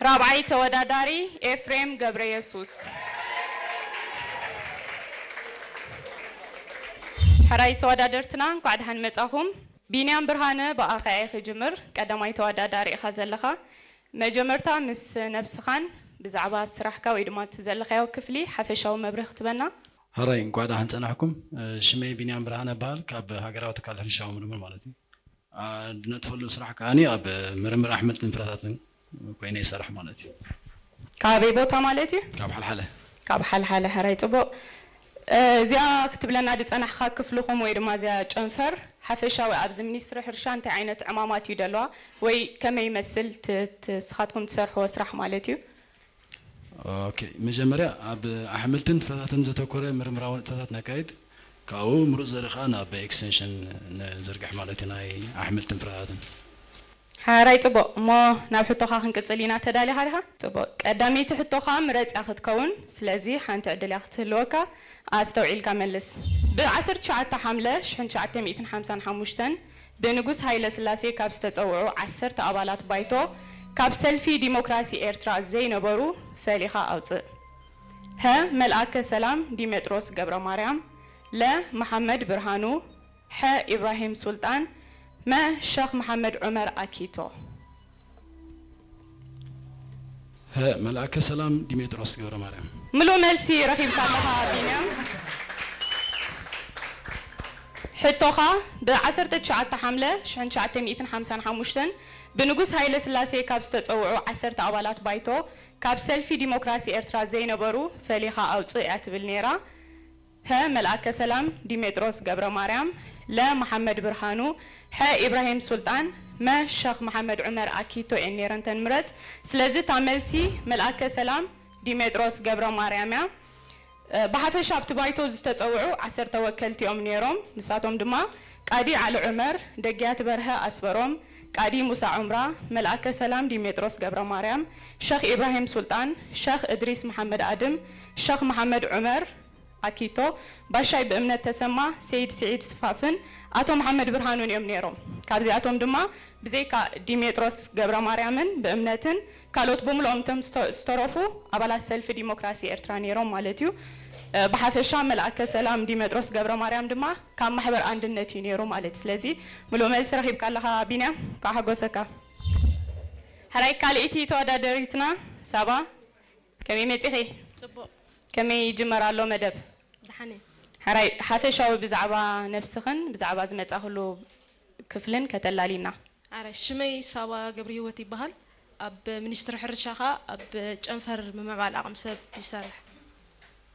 ራብዓይ ተወዳዳሪ ኤፍሬም ገብረየሱስ። ሕራይ ተወዳደርትና፣ እንኳዕ ደሓን መጻኹም። ቢንያም ብርሃነ፣ ብኣኻ እየ ክጅምር። ቀዳማይ ተወዳዳሪ ኢኻ ዘለኻ። መጀመርታ ምስ ነብስኻን ብዛዕባ ስራሕካ ወይ ድማ እቲ ዘለኻዮ ክፍሊ ሓፈሻዊ መብርሂ ክትበና። ሕራይ፣ እንኳዕ ደሓን ጸናሕኩም። ሽመይ ቢንያም ብርሃነ እበሃል፣ ካብ ሃገራዊ ትካል ሕርሻዊ ምርምር ማለት እዩ። አ፣ ድነጥፈሉ ስራሕ ከኣኒ ኣብ ምርምር ኣሕምልትን ፍረታትን ኮይነ ይሰርሕ ማለት እዩ። ካበይ ቦታ ማለት እዩ? ካብ ሓልሓለ። ካብ ሓልሓለ። ሕራይ ጽቡቕ። እ፣ እዚኣ ክትብለና ዝጸናሕካ ክፍልኹም ወይ ድማ እዚኣ ጨንፈር ሓፈሻዊ ኣብዚ ሚኒስትሪ ሕርሻ እንታይ ዓይነት ዕማማት እዩ ደለዋ ወይ ከመይ ይመስል ት-፣ ት-፣ ንስኻትኩም ትሰርሕዎ ስራሕ ማለት እዩ? ኦኬ፣ መጀመርያ ኣብ ኣሕምልትን ፍረታትን ዘተኮረ ምርምራዊ ንጥፈታት ነካይድ፣ ካብኡ ምሩፅ ዘርኢ ከዓ ናብ ኤክስቴንሽን ንዝርግሕ ማለት እዩ፣ ናይ ኣሕምልትን ፍረታትን። ሓራይ ጽቡቕ፣ እሞ ናብ ሕቶኻ ክንቅጽል ኢና፣ ተዳሊኻ ዲኻ? ጽቡቕ፣ ቀዳመይቲ ሕቶኻ ምረጽ እያ ክትከውን፣ ስለዚ ሓንቲ ዕድል እያ ክትህልወካ፣ ኣስተውዒልካ መልስ። ብ ዓሰርተ ትሽዓተ ሓምለ ሽሕን ትሽዓተ ሚእትን ሓምሳን ሓሙሽተን ብንጉስ ሃይለ ስላሴ ካብ ዝተጸውዑ ዓሰርተ ኣባላት ባይቶ፣ ካብ ሰልፊ ዲሞክራሲ ኤርትራ ዘይነበሩ ፈሊኻ ኣውጽእ። ሀ፣ መልኣከ ሰላም ዲሜጥሮስ ገብረ ማርያም፣ ለ፣ መሓመድ ብርሃኑ፣ ሐ፣ ኢብራሂም ሱልጣን፣ መ፣ ሸኽ መሓመድ ዑመር ኣኪቶ። ሀ፣ መልኣከ ሰላም ዲሜጥሮስ ገብረ ማርያም። ምሉእ መልሲ ረኺብካ ኣለኻ ቢንያም። ሕቶኻ፣ ብ ዓሰርተ ትሽዓተ ሓምለ ሽሕን ትሽዓተ ሚእትን ሓምሳን ሓሙሽተን ብንጉስ ሃይለ ስላሴ ካብ ዝተጸውዑ ዓሰርተ ኣባላት ባይቶ፣ ካብ ሰልፊ ዲሞክራሲ ኤርትራ ዘይነበሩ ፈሊኻ ኣውጽእ እያ ትብል ነይራ። ሀ፣ መልኣከ ሰላም ዲሜጥሮስ ገብረ ማርያም፣ ለ፣ መሓመድ ብርሃኑ፣ ሐ፣ ኢብራሂም ሱልጣን፣ መ፣ ሸኽ መሓመድ ዑመር ኣኪቶ እየን ነይረን ተን ምረጽ። ስለዚ እታ መልሲ መልኣከ ሰላም ዲሜጥሮስ ገብረ ማርያም እያ። እ፣ ብሓፈሻ ኣብቲ ባይቶ ዝተጸውዑ ዓሰርተ ወከልቲ እዮም ነይሮም። ንሳቶም ድማ ቃዲ ዓሊ ዑመር፣ ደግያት በርሀ ኣስበሮም፣ ቃዲ ሙሳ ዑምራ፣ መልኣከ ሰላም ዲሜጥሮስ ገብረ ማርያም፣ ሸኽ ኢብራሂም ሱልጣን፣ ሸኽ እድሪስ መሓመድ ኣድም፣ ሸኽ መሓመድ ዑመር፣ ኣኪቶ፣ ባሻይ ብእምነት ተሰማ፣ ሰይድ ስዒድ ስፋፍን ኣቶ መሓመድ ብርሃኑን እዮም ነይሮም። ካብዚኣቶም ድማ ብዘይካ ዲሜጥሮስ ገብረ ማርያምን ብእምነትን ካልኦት ብምልኦም እቶም ዝተ-፣ ዝተረፉ ኣባላት ሰልፊ ዲሞክራሲ ኤርትራ ነይሮም ማለት እዩ። እ፣ ብሓፈሻ መልኣከ ሰላም ዲሜጥሮስ ገብረ ማርያም ድማ ካብ ማሕበር ኣንድነት እዩ ነይሩ ማለት እዩ። ስለዚ ምሉእ መልሲ ረኺብካ ኣለኻ ቢንያም፣ እንኳዕ ሓጎሰካ። ሕራይ ካልኣይቲ ተወዳደሪትና ሳባ፣ ከመይ መጺኺ? ጽቡቕ። ከመይ ይጅመር ኣሎ መደብ? ደሓን እየ። ሕራይ ሓፈሻዊ ብዛዕባ ነብስኽን ብዛዕባ ዝመጻኽሉ ክፍልን ከተላልይና። ኣረ፣ ሽመይ ሳባ ገብረሂወት ይበሃል። ኣብ ሚኒስትሪ ሕርሻ ኸኣ ኣብ ጨንፈር ምምዕባል ዓቕሚ ሰብ ይሰርሕ።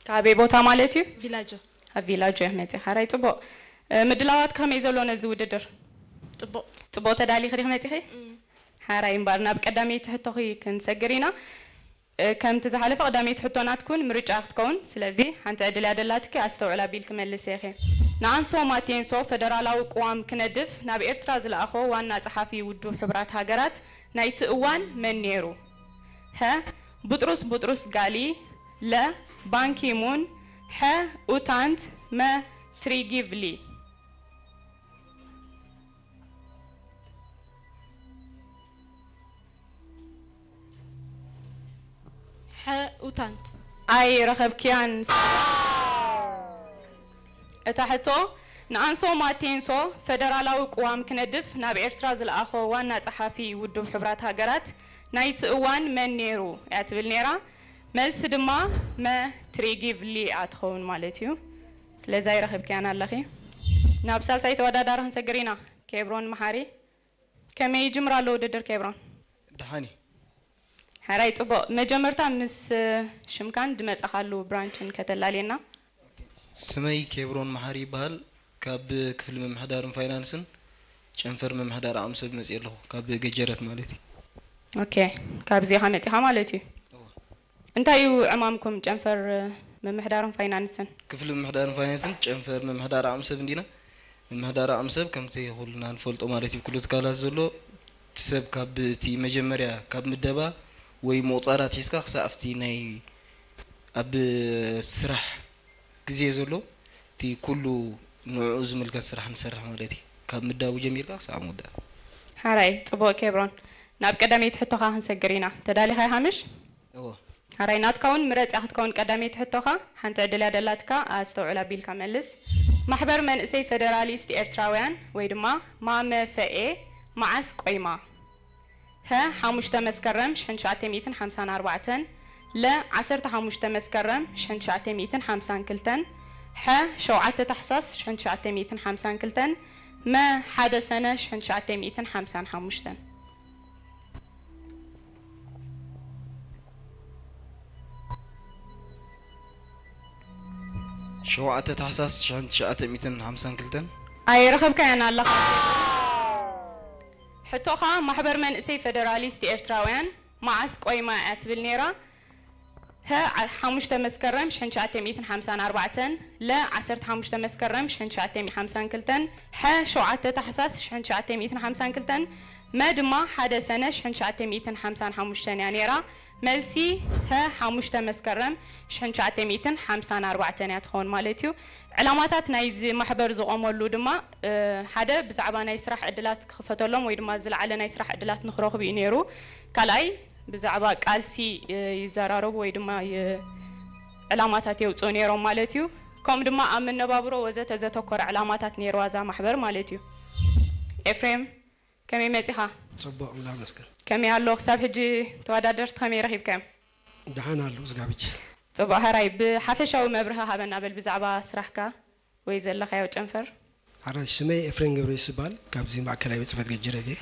ካበይ ቦታ ማለት እዩ? ቪላጆ። ኣብ ቪላጆ እየ መጺኣ። ሕራይ ጽቡቕ። እ፣ ምድላዋት ከመይ ዘሎ ነዚ ውድድር? ጽቡቕ። ጽቡቕ ተዳሊኺ ዲኺ መጺኺ? እም። ሕራይ እምበኣር ናብ ቀዳመይቲ ሕቶኺ ክንሰግር ኢና። እ፣ ከምቲ ዝሓለፈ ቀዳመይቲ ሕቶ ናትኩን ምርጫ ክትከውን፣ ስለዚ ሓንቲ ዕድል እያ ደላትኪ፣ ኣስተውዕል ኣቢልኪ መልሲ ኢኺ። ንኣንሶ ማቴንሶ ፈደራላዊ ቅዋም ክነድፍ ናብ ኤርትራ ዝለኣኾ ዋና ጸሓፊ ውድብ ሕቡራት ሃገራት ናይቲ እዋን መን ነይሩ? ሀ፣ ቡጥሩስ ቡጥሩስ ጋሊ፣ ለ፣ ባንኪሙን፣ ሐ፣ ኡታንት፣ መ፣ ትሪጊቭሊ። ሐ፣ ኡታንት። ኣይረኸብክያን። እታ ሕቶ፣ ንኣንሶ ማቴንሶ ፈደራላዊ ቅዋም ክነድፍ ናብ ኤርትራ ዝለኣኾ ዋና ጸሓፊ ውድብ ሕቡራት ሃገራት ናይቲ እዋን መን ነይሩ እያ ትብል ነይራ። መልሲ ድማ መ፣ ትሪጊቭሊ እያ ትኸውን ማለት እዩ። ስለዚ ኣይረኸብክያን ኣለኺ። ናብ ሳልሳይ ተወዳዳሪ ክንሰግር ኢና። ኬብሮን መሓሪ። ከመይ ይጅምር ኣሎ ውድድር ኬብሮን? ደሓን እዩ። ሕራይ ጽቡቕ። መጀመርታ ምስ ሽምካን ዝመጻኻሉ ብራንችን ከተላልየና። ስመይ ኬብሮን መሓሪ ይበሃል። ካብ ክፍሊ ምምሕዳርን ፋይናንስን ጨንፈር ምምሕዳር ዓቕሚ ሰብ መጽየ ኣለኹ። ካብ ገጀረት ማለት እዩ። ኦኬ፣ ካብዚ ኢኻ መጺኻ ማለት እዩ። እወ። እንታይ እዩ ዕማምኩም ጨንፈር ምምሕዳርን ፋይናንስን? ክፍሊ ምምሕዳርን ፋይናንስን ጨንፈር ምምሕዳር ዓቕሚ ሰብ እንዲና። ምምሕዳር ዓቕሚ ሰብ ከምቲ ኩልና ንፈልጦ ማለት እዩ፣ ኩሉ ትካላት ዘሎ እቲ ሰብ ካብ እቲ መጀመርያ ካብ ምደባ ወይ ምቑጻር ኣትሒዝካ ክሳብ ኣብቲ ናይ ኣብ ስራሕ ግዜ ዘሎ እቲ ኩሉ ንዕኡ ዝምልከት ስራሕ ንሰርሕ ማለት እዩ። ካብ ምዳቡ ጀሚርካ ክሳብ ምውዳእ። ሓራይ፣ ጽቡቕ ኬብሮን። ናብ ቀዳመይቲ ሕቶኻ ክንሰግር ኢና። ተዳሊኻ ሃምሽ? እዎ። ኣራይ ናትካ እውን ምረጽ እያ ክትከውን ቀዳመይቲ ሕቶኻ። ሓንቲ ዕድል እያ ደላትካ፣ ኣስተውዕል ኣቢልካ መልስ። ማሕበር መንእሰይ ፈደራሊስት ኤርትራውያን ወይ ድማ ማመፈኤ መዓስ ቆይማ? ሀ ሓሙሽተ መስከረም ሽሕን ትሽዓተ ሚእትን ሓምሳን ኣርባዕተን፣ ለ ዓሰርተ ሓሙሽተ መስከረም ሽሕን ትሽዓተ ሚእትን ሓምሳን ክልተን፣ ሐ ሸውዓተ ታሕሳስ ሽሕን ትሽዓተ ሚእትን ሓምሳን ክልተን፣ መ ሓደ ሰነ ሽሕን ትሽዓተ ሚእትን ሓምሳን ሓሙሽተን። ሸውዓተ ታሕሳስ ሽሕን ትሽዓተ ሚእትን ሓምሳን ክልተን። ኣይረኸብካያን ኣለኻ። ሕቶኻ ማሕበር መንእሰይ ፈደራሊስት ኤርትራውያን መዓስ ቆይማ እያ ትብል ነይራ? ሀ ሓሙሽተ መስከረም ሽሕን ትሽዓተ ሚእትን ሓምሳን ኣርባዕተን፣ ለ ዓሰርተ ሓሙሽተ መስከረም ሽሕን ትሽዓተ ሚእትን ሓምሳን ክልተን፣ ሐ ሸውዓተ ታሕሳስ ሽሕን ትሽዓተ ሚእትን ሓምሳን ክልተን፣ መ ድማ ሓደ ሰነ ሽሕን ትሽዓተ ሚእትን ሓምሳን ሓሙሽተን እያ ነይራ። መልሲ ሀ ሓሙሽተ መስከረም ሽሕን ትሽዓተ ሚእትን ሓምሳን ኣርባዕተን እያ ትኸውን ማለት እዩ። ዕላማታት ናይዚ ማሕበር ዝቖመሉ ድማ፣ እ፣ ሓደ ብዛዕባ ናይ ስራሕ ዕድላት ክኽፈተሎም ወይ ድማ ዝለዓለ ናይ ስራሕ ዕድላት ንኽረኽቡ እዩ ነይሩ። ካልኣይ ብዛዕባ ቃልሲ፣ እ፣ ይዘራረቡ ወይ ድማ ይ-፣ ዕላማታት የውፅኡ ነይሮም ማለት እዩ። ከምኡ ድማ ኣብ መነባብሮ ወዘተ ዘተኮረ ዕላማታት ነይርዋ እዛ ማሕበር ማለት እዩ። ኤፍሬም፣ ከመይ መጺኻ? ጽቡቕ፣ እምላኽ መስገን። ከመይ ኣሎ? ክሳብ ሕጂ ተወዳደርቲ ከመይ ረኺብካዮም? ደሓን ኣሎ፣ ዝጋብጅስ። ጽቡቕ፣ ሕራይ ብሓፈሻዊ መብርሂ ሃበና በል ብዛዕባ ስራሕካ ወይ ዘለኻዮ ጨንፈር። ሕራይ፣ ስመይ ኤፍሬም ገብረየሱስ ይበሃል። ካብዚ ማእከላይ ቤት ጽሕፈት ገጅረት እየ።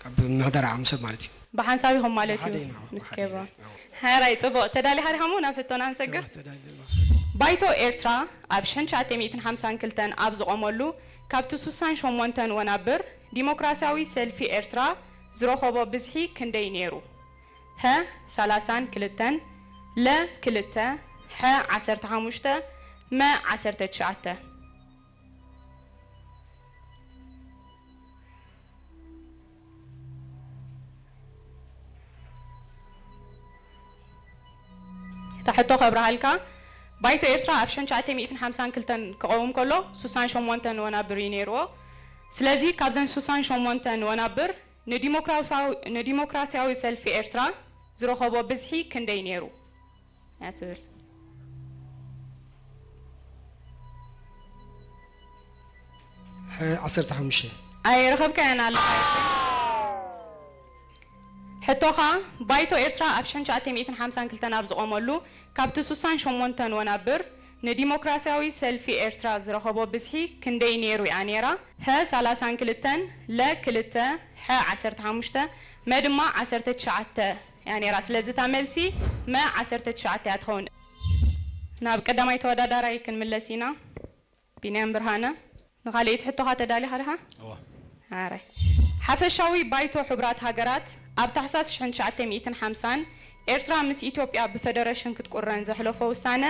ካብ ምሕደራ ዓሙሰብ ማለት እዩ። ብሓንሳብ ኢኹም ማለት እዩ ብሓደ ኢና፣ ምስ ብሓደ ኬብሮን። ኢና። ሕራይ ጽቡቕ፣ ተዳሊኻ ዲኻ እሞ ናብ ሕቶና ንሰግር? ተዳሊና። ባይቶ ኤርትራ ኣብ ሽሕን ትሽዓተ ሚእትን ሓምሳን ክልተን ኣብ ዝቖመሉ ካብቲ ሱሳን ሸሞንተን ወናብር ዲሞክራሲያዊ ሰልፊ ኤርትራ ዝረኸቦ ብዝሒ ክንደይ ነይሩ? ሀ ሰላሳን ክልተን፣ ለ ክልተ፣ ሐ ዓሰርተ ሓሙሽተ፣ መ ዓሰርተ ትሽዓተ። እታ ሕቶ ከብርሃልካ፣ ባይቶ ኤርትራ ኣብ ሽሕን ትሽዓተ ሚእትን ሓምሳን ክልተን ክቐውም ከሎ ሱሳን ሸሞንተን ወናብር እዩ ነይርዎ። ስለዚ ካብዘን ሱሳን ሸሞንተን ወናብር ንዲሞክራሲያዊ፣ ንዲሞክራሲያዊ ሰልፊ ኤርትራ ዝረኸቦ ብዝሒ ክንደይ ነይሩ እያ ትብል? ሐ ዓሰርተ ሓሙሽተ። ኣይረኸብካያን ኣለኻ። ሕቶኻ፣ ባይቶ ኤርትራ ኣብ ሽሕን ትሽዓተ ሚእትን ሓምሳን ክልተን ኣብ ዝቖመሉ ካብቲ ሱሳን ሸሞንተን ወናብር ንዲሞክራሲያዊ ሰልፊ ኤርትራ ዝረኸቦ ብዝሒ ክንደይ ነይሩ እያ ነይራ? ሀ ሰላሳን ክልተን፣ ለ ክልተ፣ ሐ ዓሰርተ ሓሙሽተ፣ መ ድማ ዓሰርተ ትሽዓተ እያ ነይራ። ስለዚ እታ መልሲ መ ዓሰርተ ትሽዓተ እያ ትኸውን። ናብ ቀዳማይ ተወዳዳራይ ክንምለስ ኢና። ቢንያም ብርሃነ፣ ንኻልኣይቲ ሕቶኻ ተዳሊኻ ዲኻ? እወ። ኣራይ። ሓፈሻዊ ባይቶ ሕቡራት ሃገራት ኣብ ታሕሳስ ሽሕን ትሽዓተ ሚእትን ሓምሳን ኤርትራ ምስ ኢትዮጵያ ብፈደረሽን ክትቁረን ዘሕለፎ ውሳነ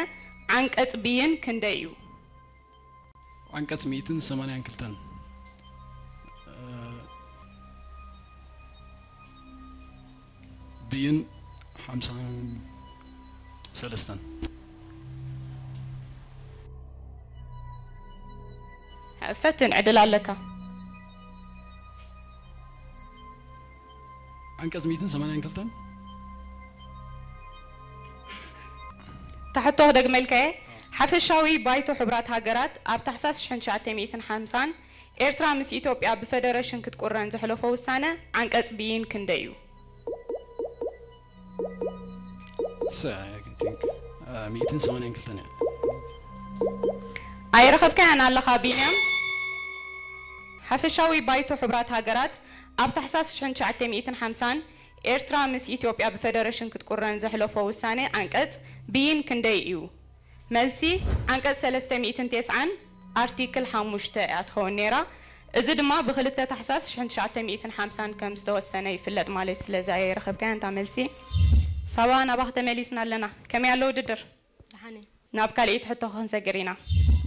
ዓንቀጽ ብይን ክንደይ እዩ? ዓንቀጽ ሚእትን ሰማንያን ክልተን። ብይን ሓምሳን ሰለስተን። ፈትን ዕድል ኣለካ። ዓንቀጽ ሚእትን ሰማንያን ክልተን። እታ ሕቶ ክደግመልካየ። ሓፈሻዊ ባይቶ ሕቡራት ሃገራት ኣብ ታሕሳስ ሽሕን ትሽዓተ ሚእትን ሓምሳን ኤርትራ ምስ ኢትዮጵያ ብፈደረሽን ክትቁረን ዘሕለፎ ውሳነ ዓንቀጽ ብይን ክንደይ እዩ? So, I think, uh, ሚእትን ሰማንያን ክልተን እያ። ኣይረኸብካያን ኣለኻ ቢንያም። ሓፈሻዊ ባይቶ ሕቡራት ሃገራት ኣብ ታሕሳስ ሽሕን ትሽዓተ ሚእትን ሓምሳን ኤርትራ ምስ ኢትዮጵያ ብፈደረሽን ክትቁረን ዘሕለፎ ውሳነ ዓንቀጽ ብይን ክንደይ እዩ? መልሲ፣ ዓንቀጽ ሰለስተ ሚእትን ተስዓን ኣርቲክል ሓሙሽተ እያ ትኸውን ነይራ። እዚ ድማ ብክልተ ታሕሳስ ሽሕን ትሽዓተ ሚእትን ሓምሳን ከም ዝተወሰነ ይፍለጥ ማለት እዩ። ስለዚ ኣይረኸብካያን እታ መልሲ። ሳባ፣ ናባኺ ተመሊስና ኣለና። ከመይ ኣሎ ውድድር? ደሓን እየ። ናብ ካልኣይቲ ሕቶ ክንሰግር ኢና።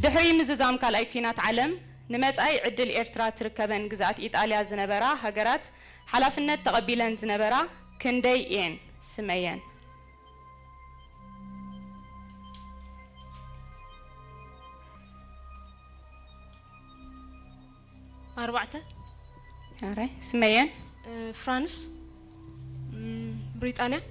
ድሕሪ ምዝዛም ካልኣይ ኲናት ዓለም ንመጻኢ ዕድል ኤርትራ ትርከበን ግዝኣት ኢጣልያ ዝነበራ ሃገራት ሓላፍነት ተቐቢለን ዝነበራ ክንደይ እየን? ስመየን። ኣርባዕተ። ኣራይ፣ ስመየን። እ፣ ፍራንስ። ብሪጣንያ